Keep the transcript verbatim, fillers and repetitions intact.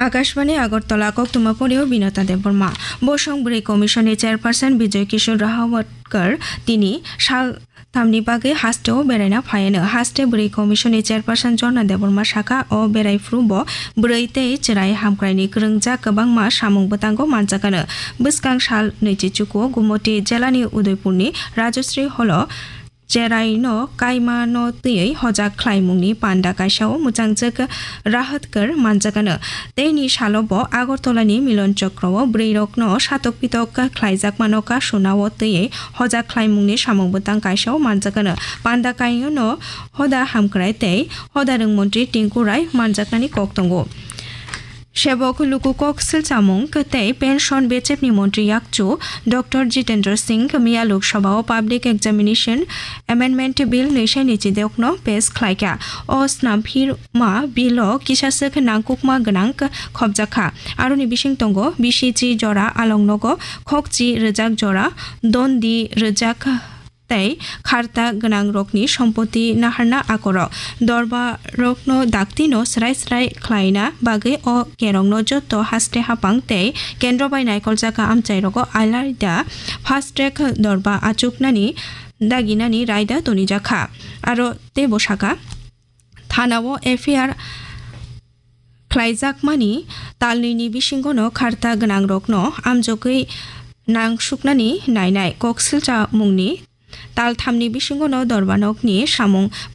Akashbani Agartala, koktwma porio Binata Debbarma. Bosong Bwrwi Commission ni Chairperson Bijoy Kishore Rahawatkar tini sal tamni bagwi hasteo beraina phaiano. Haste Bwrwi Commission ni Chairperson Jorna Debbarma saka o berai phuru bo bwrwi tei chwrai hamkraini kwrwngjak kwbangma samung bwtango manjakano. Bwskang sal nwichi chukuo Gumoti jelani Udaipurni Rajasri Holo cheraino kaimano twiwi hojak khlaimungni panda kaisao mwchangjak Rahatkar manjakano. Teini salo bo Agartalani Milon Chokro o bwrwirokno satok pitok khlaijakmano kasunao twiwi hojak khlaimungni samung bwtang kaisao manjakano. Panda kainono hoda hamkrai tei hoda rwng montri Tinku Rai manjaknani kok tongo. Sebok luku kok silchamung tei pension bechepni montri yakchu Doctor Jitendra Singh miya Lok Sabha o Public Examination Amendment Bill nwisaini chidokno pass khlaikha. O snamphirma bill o kisaswk nangkukma gwnang khopjakha. Aroni bising tongo bisi chi jora alongnogo, khokchi rwjak jora dondi rwjak tei kharta gwnangrokni sompoti naharna akorok. Dorbarokno daktino srai srai khlaina bagwi o kerongno joto haste hapang tei kendro bai naikoljak amchairogo alaida fast track dorba achuknani daginani raida tonijakha. Aro teibo saka, thanao F I R khlaijakmani talnwini bisingono kharta gwnangrokno amjogwi nangsuknani nainai kok silchamungni talthamni bisingono dorbanokni samung